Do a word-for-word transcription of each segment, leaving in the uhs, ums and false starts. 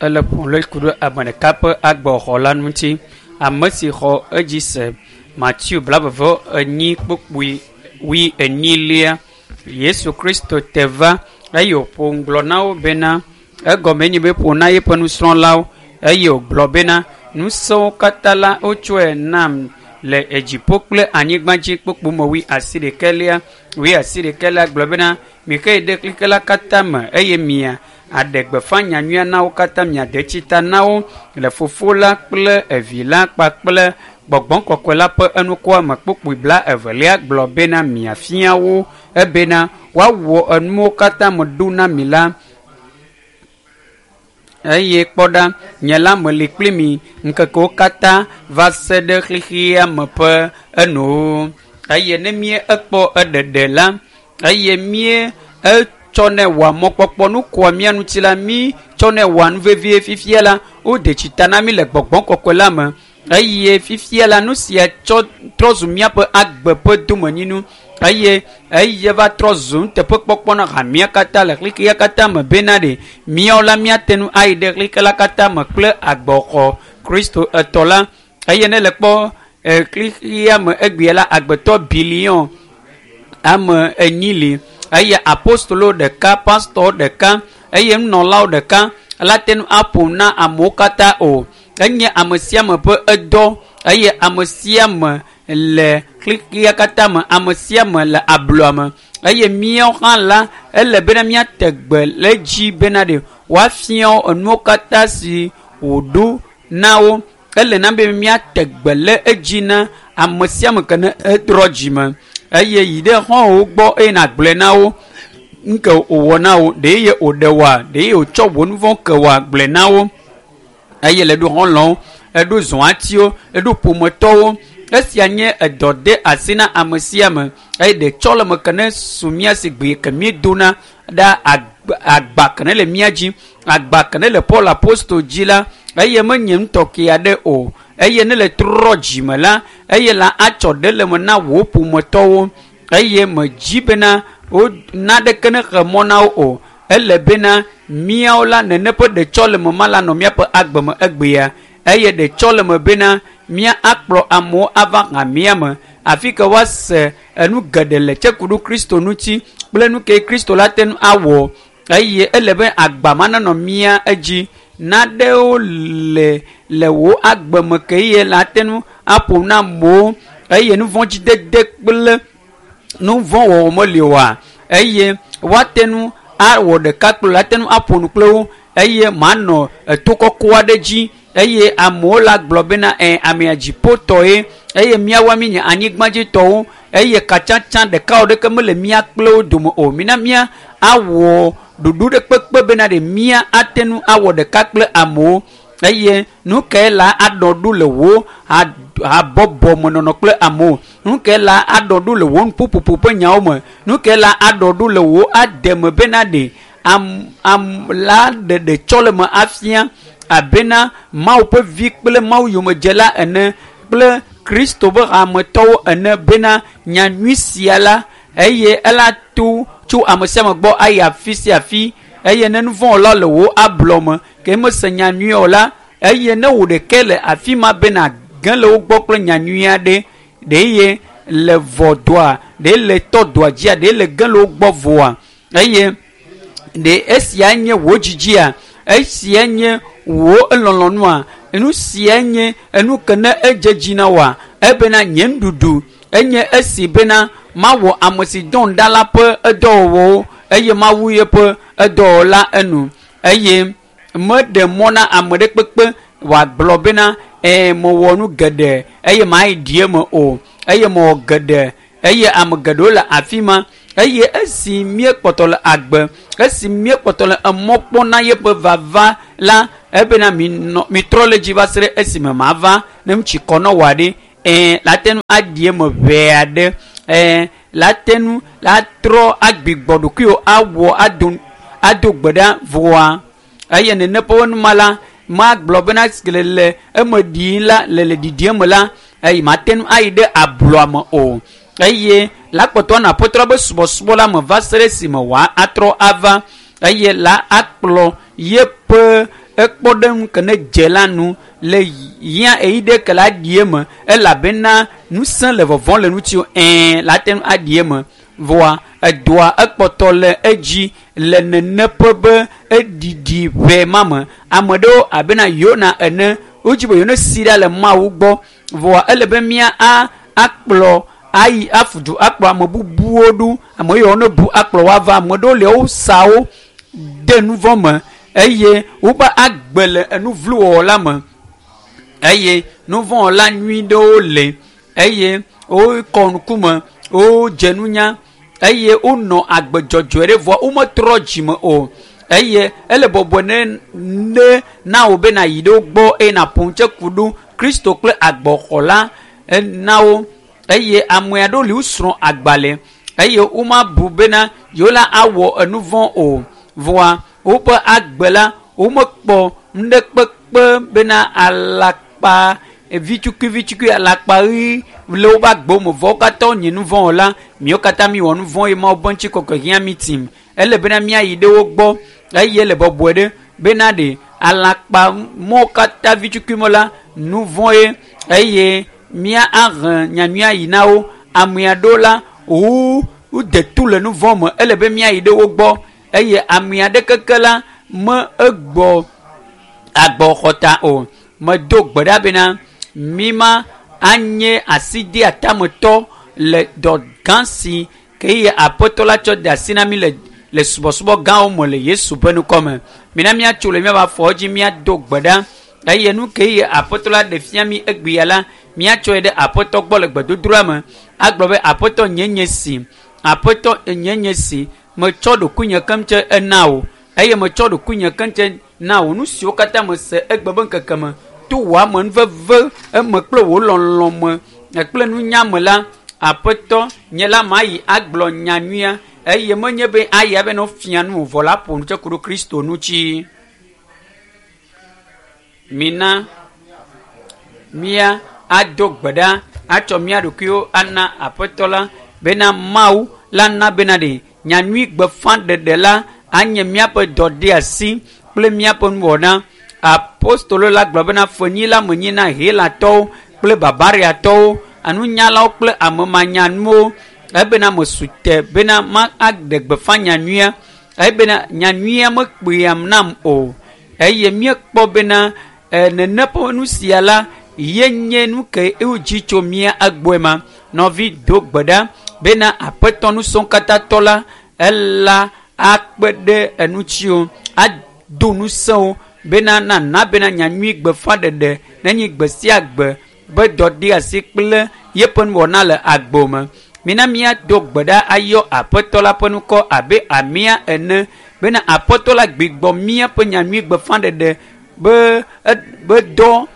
Ele ƒom ɖe ku ɖe ame ɖeka ƒe agbexɔ la ŋuti. Ame si xɔ edzi se Matthew blaeve enyi kpukpui wui enyilia. Yesu Kristo te va eye wòƒo nu gblɔ na wo bena egɔme nye be ƒo na yeƒe nusrɔ̃lawo eye wògblɔ bena ŋusẽwo katã la wotsɔe nam le edziƒo kple anyigba dzi kpukpu me wui asi ɖekɛlia wui asi ɖekɛlia gblɔ bena mixe yi ɖe xexe la katã me eye mia aɖe gbeƒã nyanyuia na wo katã miade tsi ta na wo le fofo la kple evi la kpakple gbɔgbɔ kɔkɔe la ƒe enukua me kpukpui bla evelia gblɔ bena miafia wo ebena woawɔ enuwo katã me ɖo na mi la eye kpɔ ɖa nye la meli kpli mi ŋkekewo katã va se ɖe xexea me ƒe enowo eye ne mie ekpɔ eɖeɖe la eye mie etsɔnɛ wɔa mɔkpɔkpɔ nu kɔa mía ŋuti la mi tsɔnɛ wɔa nu vevie fifia la wode tsi ta na mi le gbɔgbɔ kɔkɔe la me eye fifia la nu sia tsɔ trɔ zu míaƒe agbe ƒe domenyinu eye eye va trɔ zu nuteƒekpɔkpɔ na hamea katã le xexea katã me bena ɖe míawo la míate ŋu ayi ɖe xexe la katã me kple agbexɔ Kristo etɔ la eye ne le kpɔ xexea me egbea la agbetɔ biliɔn ame enyi li eye apostolo ɖeka pastɔ ɖeka eye nunɔlawo ɖeka la te ŋu aƒo na amewo katã o enye ame sia ame ƒe edɔ eye ame sia ame le xexea katã me ame sia ame le ablɔa me eye míawo hã la ele bena míate gbe le edzi bena ɖe woafia enuwo katã si wòɖo na wo ele na be míate gbe le edzi na ame sia ame ke ne etrɔ dzime eye yi ɖe xɔ̃wòwo gbɔ eye nàgblɔe na wo nke wòwɔ na wo ɖe ye wòɖe woa ɖe ye wòtsɔ wò nu vɔ̃ ke woa gblɔe na wo eye le ɖo xɔlɔ̃wo eɖo zɔatiwo eɖo ƒometɔwo esia nye edɔ de asi na ame sia ame eye ɖetsɔleme ke ne su mía si gbe ke míedona ɖa agba ke ne le mía dzi agba ke ne le Paul apostol dzi la eye menye ŋutɔke aɖe o eye ne le trɔ dzime la eye la atsɔ ɖe le me na wò ƒometɔwo eye medzi bena wo naɖeke ne xe mɔ na wo o ele bena míawo la nene ƒe ɖetsɔleme ma la nɔ míaƒe agbe me egbea eye ɖetsɔleme bena mía akplɔ amewo ava hamea me afi ke woase enu geɖe le tsekuɖu Kristo ŋuti kple nu ke Kristo la te ŋu awɔ eye ele be agba ma nenɔ mía edzi naɖewo le le wò agbe me ke ye la te ŋu aƒo na amewo eye nu vɔ̃ dzidede kple nu vɔ̃ wɔwɔ meli oa eye woate ŋu awɔ ɖeka kple la te ŋu aƒo nu kple wo eye manɔ eto kɔkɔ aɖe dzi eye amewo la gblɔ bena ɛ amea dziƒotɔe eye míawoa míenye anyigbadzitɔwo eye katsatsa ɖeka ɖeke mele mía kple wo dome o mina mía awɔ ɖoɖo ɖe kpekpe bena ɖe mía ate ŋu awɔ ɖeka kple amewo eye nu kae la aɖɔ ɖo le wò habɔbɔ me nɔnɔ kple amewo nu kae la aɖɔ ɖo le wò nuƒoƒoƒo ƒe nyawo me nu kae la aɖɔ ɖo le wò ademe bena ɖe am am la ɖe ɖetsɔleme afia abena Mawu ƒe vi kple Mawu yomedzela ene kple Kristo ƒe hametɔwo ene bena nyanyui sia la eye ela to tso ame sia ame gbɔ ayi afi sia afi eye ne nu vɔ̃ wɔla le wò ablɔ me ke mese nyanyui o la eye ne wò ɖeke le afi ma bena ge le wo gbɔ kple nyanyui aɖe ɖe ye le vɔ doa ɖe le tɔ doa dzia ɖe le ge le wo gbɔ vɔa eye ɖe esia nye wò dzidzia esia nye wò elɔlɔnua nu sia nye enu ke ne edze dzi na woa ebena nye nuɖuɖu enye esi bena mawɔ ame si dɔm ɖa la ƒe edɔwɔwɔwo eye mawu yeƒe edɔwɔla enu eye meɖe mɔ na ame ɖe kpekpe wòagblɔ bena ɛɛ mewɔ nu geɖe eye mayi ɖi eme o eye mewɔ geɖe eye ame geɖewo le afi ma eye esi míekpɔtɔ le agbe esi míekpɔtɔ le emɔ kpɔm na yeƒe vava la ebena minɔ mitrɔ le dzi va se ɖe esime mava ne ŋutsi kɔ na wòa ɖe ɛɛ la te ŋu aɖi eme ʋɛ aɖe ɛɛ la te ŋu la trɔ agbigbɔ ɖokuiwò awɔ ado ado gbe ɖa vɔa eye nene ƒe numa la magblɔ bena le le eme ɖii la le le ɖiɖie me la eye mate ŋu ayi ɖe ablɔa me o eye La kpɔtɔ na aƒetɔ la be subɔsubɔ la me va se ɖe esime wòa atrɔ ava eye la akplɔ yeƒe ekpɔɖeŋu ke ne dze la nu le yia eyi ɖe ke la ɖi eme elabena ŋusẽ le vɔvɔm le ŋuti ɛɛ la te ŋu aɖi eme vɔa edoa ekpɔtɔ le edzi le neneƒe be eɖiɖi ʋɛ ma me. Ame ɖewo abena Yona ene wodzi be yewo si ɖa le Mawu gbɔ vɔa ele be mía a akplɔ ayi afudu akplɔ ame bubuwo ɖo ame yiwo ne bu akplɔ woava ame ɖewo le wo sawo de nu vɔ̃ me eye woƒe agbe le enu vlo wɔwɔ la me eye nu vɔ̃ wɔla nyui ɖewo le eye wokɔ ŋkume wodze nunya eye wonɔ agbe dzɔdzɔe ɖe vɔa wometrɔ dzime o eye ele bɔbɔe ne ne na wo be nayi ɖe wo gbɔ eye naƒo nu tse ku ɖo Kristo kple agbɔxɔla na wo eye ame aɖewo li wosrɔ̃ agbalẽ eye womabu bena yewo la awɔ enu vɔ̃ o vɔa woƒe agbe la womekpɔ nuɖekpekpe bena alakpa vitukui vitukui alakpa ɣi le woƒe agbewo me vɔ wo katã wonye nu vɔ̃ wɔla miwo katã miwɔ nu vɔ̃ eye Mawu ƒe ŋutikɔkɔe hiã mi tim ele bena míayi ɖe wo gbɔ eye le bɔbɔe ɖe bena ɖe alakpa mɔwo katã vitukui me la nu vɔ̃ ye eye mía ahe nyanyuia yi na wo ame aɖewo la wo wode tu le nu vɔ̃ me ele be míayi ɖe wo gbɔ eye ame aɖe keke la me egbɔ agbɔxɔta o medo gbe ɖa bena mi ma anye asideatametɔ le dɔ gã si ke eye aƒetɔ la tsɔ de asi na mi le le subɔsubɔ gãwo me le Yesu ƒe ŋkɔ me. Mina míatso le míaƒe afɔwo dzi míado gbe ɖa eye nu ke eye aƒetɔ la ɖe fia mi egbea la míatsɔe ɖe aƒetɔ gbɔ le gbedodoɖa me agblɔ be aƒetɔ nye nye si aƒetɔ nye nye si metsɔ ɖokuinye keŋ tse ena wò eye metsɔ ɖokuinye keŋ tse na wò nu siwo katã mese egbe be ŋkeke me to wò amenuveve eme kple wò lɔlɔ me kple nunya me la aƒetɔ nye la mayi agblɔ nyanyuia eye menye be ayi abe ne wofia nu vɔ la ƒo nu tse ku ɖo Kristo ŋuti. Mina mía ado gbe ɖa atsɔ mía ɖokuiwo ana aƒetɔ la bena Mawu la na bena ɖe nyanyui gbeƒãɖeɖe la anye míaƒe dɔdeasi kple míaƒe nuwɔna. Apostolo la gblɔ bena fenyila menyi na Helatɔwo kple Barbariatɔwo, anunyalawo kple amemanyanuwo ebena mesu te bena ma aɖe gbeƒã nyanyuia ebena nyanyuia mekpeam nam o eye míekpɔ bena nene ƒe nu sia la ye nye nu ke wodzi tso mía egbɔe ma. Nɔvi do gbe ɖa bena aƒetɔ nusɔ̃katãtɔ la ela akpe ɖe enutsiwo ado ŋusẽwo bena nana bena nyanyui gbeƒãɖeɖe nenye gbe sia gbe be dɔdeasi kple yeƒe nuwɔna le agbo me. Mina míado gbe ɖa ayɔ aƒetɔ la ƒe ŋkɔ abe amea ene bena aƒetɔ la gbigbɔ míaƒe nyanyui gbeƒãɖeɖe be be dɔ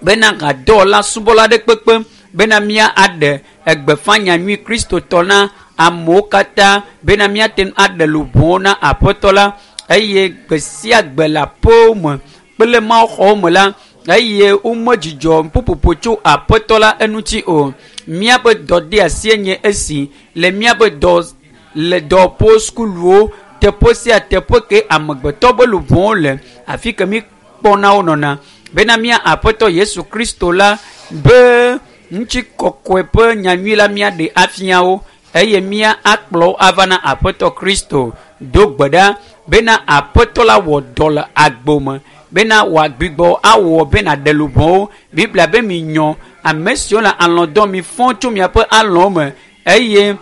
bena gadɔwɔla subɔla ɖe kpekpe bena mía aɖe egbeƒã nyanyui Kristotɔ na amewo katã bena míate ŋu aɖe luʋɔwo na aƒetɔ la eye gbe sia gbe le aƒewo me kple mawuxɔwo me la eye womedzudzɔ ƒuƒoƒo tso aƒetɔ la eŋuti o. Míaƒe dɔdeasie nye esi le míaƒe dɔ le dɔwɔƒewo, sukuluwo, teƒe sia teƒe ke amegbetɔ be luʋɔwo le afi ke mi kpɔna wo nɔna bena mía aƒetɔ Yesu Kristo la be ŋutikɔkɔe ƒe nyanyui la míaɖe afia wo eye mía akplɔ wo ava na aƒetɔ Kristo. Do gbe ɖa bena aƒetɔ la wɔ dɔ le agbo me bena wòagbigbɔ awɔ bena ɖe luʋɔwo. Biblia be minyɔ ame siwo le alɔ̃ dɔm mi fɔ tso miaƒe alɔ̃wo me eye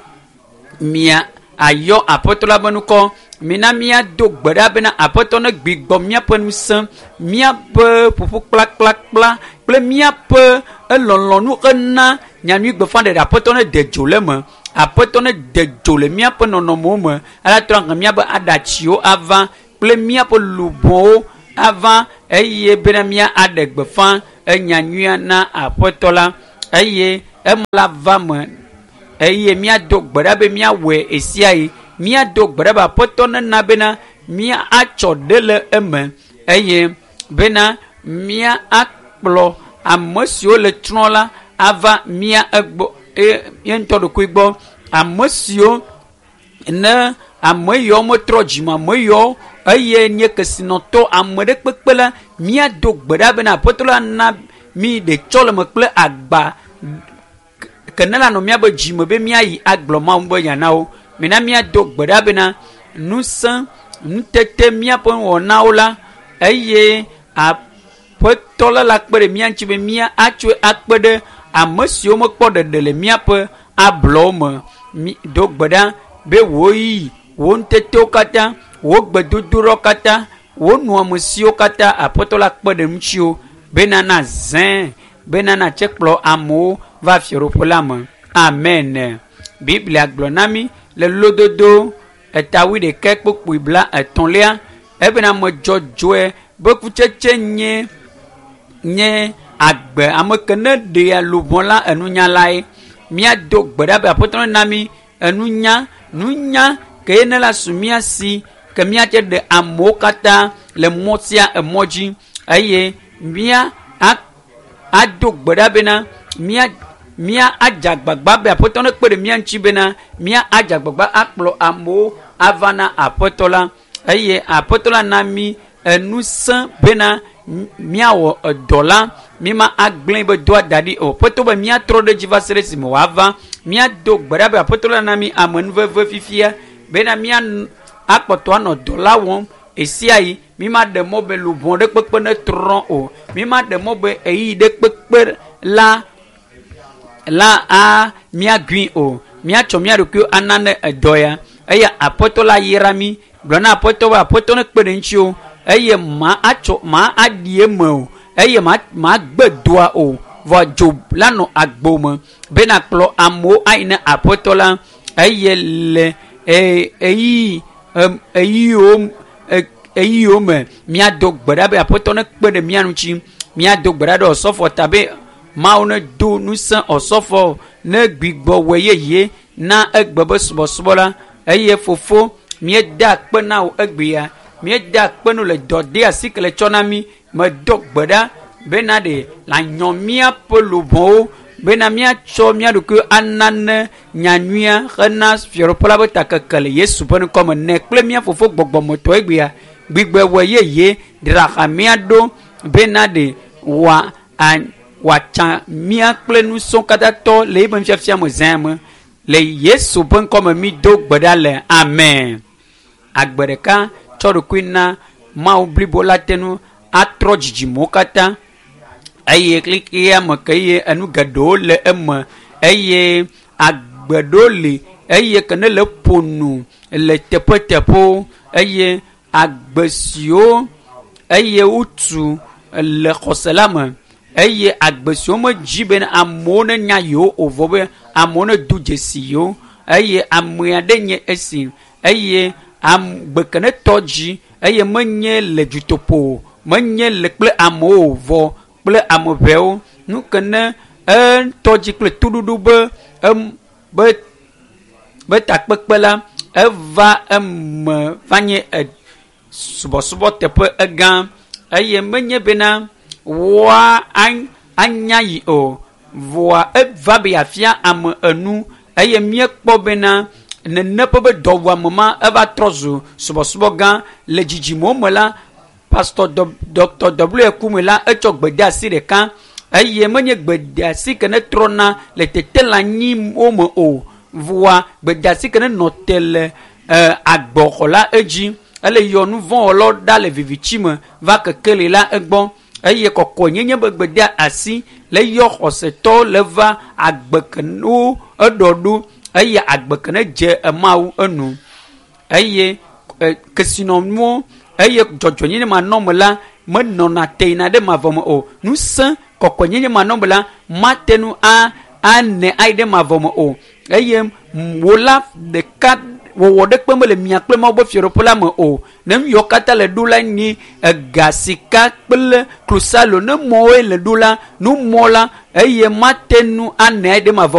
mia ayɔ aƒetɔ la ƒe ŋkɔ. Mina míado gbe ɖa bena aƒetɔ ne gbigbɔ míaƒe ŋusẽ, míaƒe ƒuƒu kplakplakpla kple míaƒe elɔlɔ̃nu ena nyanyui gbeƒãɖeɖe aƒetɔ ne de dzo le eme. Aƒetɔ ne de dzo le míaƒe nɔnɔmewo me ale trɔ ahe míaƒe aɖatsiwo ava kple míaƒe luʋɔwo ava eye bena mía aɖe gbeƒã enyanyuia na aƒetɔ la eye ema la va me eye míado gbe ɖa be míawɔe ɣesiaɣi. Míado gbe ɖa be aƒetɔ nena bena mía atsɔ ɖe le eme eye bena mía akplɔ ame siwo le trɔ̃ la ava mía egbɔ eye mía ŋutɔ ɖokui gbɔ Ame siwo ne ame yiwo metrɔ dzime ame yiwo eye nye kesinɔtɔ ame ɖe kpekpe la míado gbe ɖa bena aƒetɔ la na mi ɖetsɔleme kple agba ke ne la nɔ míabe dzime be míayi agblɔ Mawu be nya na wo. Mina míado gbe ɖa bena ŋusẽ nutete míaƒe nuwɔnawo la eye aƒetɔ la la kpe ɖe mía ŋuti be mía atsɔe akpe ɖe ame siwo mekpɔ ɖeɖe le míaƒe ablɔwo me. Mi do gbe ɖa be wò ɣeyiɣi, wò nutetewo katã, wò gbedodoɖawo katã, wò nɔamesiwo katã aƒetɔ la kpe ɖe ŋutiwò bena nazãe bena natse kplɔ amewo va fiaɖuƒe la me. Amen. Biblia gblɔ na mí le lododo eta wuiɖekɛ kpukpui bla etɔ̃lia ebena ame dzɔdzɔe be kutsetse nye nye agbe ame ke ne ɖea luʋɔ la enunyalae. Míado gbe ɖa be aƒetɔ na mí enunya nunya ke ne la su mía si ke míatse ɖe amewo katã le mɔ sia emɔ dzi eye mía ado gbe ɖa bena mía mía adze agbagba be aƒetɔ ne kpe ɖe mía ŋuti bena mía adze agbagba akplɔ amewo ava na aƒetɔ la eye aƒetɔ la na mí enusẽ bena míawɔ edɔ la míma agblẽ be doa da ɖi o. Aƒetɔ be míatrɔ ɖe edzi va se ɖe esime wòava. Míado gbe ɖa be aƒetɔ la na mí amenuveve fifia bena mía akpɔtɔ anɔ dɔ la wɔm ɣe sia ɣi. Míma ɖe mɔ be luʋɔ ɖe kpekpe ne trɔ o. Míma ɖe mɔ be ɣeyiɣi ɖe kpekpe la la a míagui o. Míatsɔ mía ɖokuiwo ana ne edɔ ya eye aƒetɔ la yra mí. Gblɔ na aƒetɔ be aƒetɔ ne kpe ɖe ŋutiwò eye ma atsɔ ma aɖi eme o eye ma ma gbe doa o. Vɔ dzo la nɔ agbo me bena kplɔ amewo ayi ne aƒetɔ la eye le e ɣeyiɣi ɣeyiɣiwo ɣeyiɣiwo me míado gbe ɖa be aƒetɔ ne kpe ɖe mía ŋuti. Míado gbe ɖa ɖe osɔfo ta be Mawu ne do ŋusẽ osɔfo ne gbigbɔ wɔ yeye na egbe be subɔsubɔ la eye fofo míeda akpe na wò egbea. Míeda akpe nu le dɔ de asi ke le tsɔ na mí. Medo gbe ɖa bena ɖe lãnyɔ míaƒe luʋɔwo bena míatsɔ mía ɖokuiwo ana ne nyanyuia hena fiaɖuƒe la be takeke le Yesu ƒe ŋkɔme ne kple mía fofo gbɔgbɔmetɔ egbea gbigbɔ wɔ yeye dzra hamea ɖo bena ɖe wòa wòatsa mía kple nusɔ̃ katã tɔ le eƒe nufiafia me zã me le Yesu ƒe ŋkɔme mi do gbe ɖa le amen. Agbe ɖeka tsɔ ɖokui na Mawu blibo la te ŋu atrɔ dzidzimewo katã eye xexea me ke eye enu geɖewo le eme eye agbe ɖewo li eye ke ne le ƒo nu le teƒeteƒewo eye agbe siwo eye wotu le xɔse la me eye agbe siwo medzi bena amewo nenya yewo o vɔ be amewo nedo dzesi yewo eye ame aɖe nye esi eye agbe ke ne tɔ dzi eye menye le dutoƒo o menye le kple amewo o vɔ kple ame ʋɛwo nu ke ne etɔ dzi kple toɖoɖo be em be be takpekpe la eva eme va nye e subɔsubɔ teƒe egã eye menye bena woa anya yi o vɔa eva be yeafia ame enu eye míekpɔ bena nene ƒe be dɔwɔame ma eva trɔ zu subɔsubɔ gã le dzidzimewo me la pastor Dr W Kume la etsɔ gbedeasi ɖeka eye menye gbedeasi ke ne trɔna le teteɖeanyiwo me o vɔa gbedeasi ke ne nɔ te le agbɔxɔ la edzi ele yɔ nu vɔ̃wɔlawo ɖa le viviti me va kekeli la egbɔ eye kɔkɔenyenye be gbedeasi le yɔ xɔsetɔwo le va agbe ke wo eɖɔ ɖo eye agbe ke ne dze Mawu enu eye kesinɔnuwo eye dzɔdzɔenyenye manɔme la menɔna te yina ɖe mavɔ me o. Ŋusẽ kɔkɔenyenye manɔme la mate ŋu a ane ayi ɖe mavɔ me o eye wò la ɖeka wɔwɔ ɖekpe mele mia kple Mawu ƒe fiaɖuƒe la me o. Ne nu yiwo katã le ɖo la nye ega, sika kple klosalo ne mɔwoe le ɖo la, numɔ la eye mate ŋu ane ayi ɖe mavɔ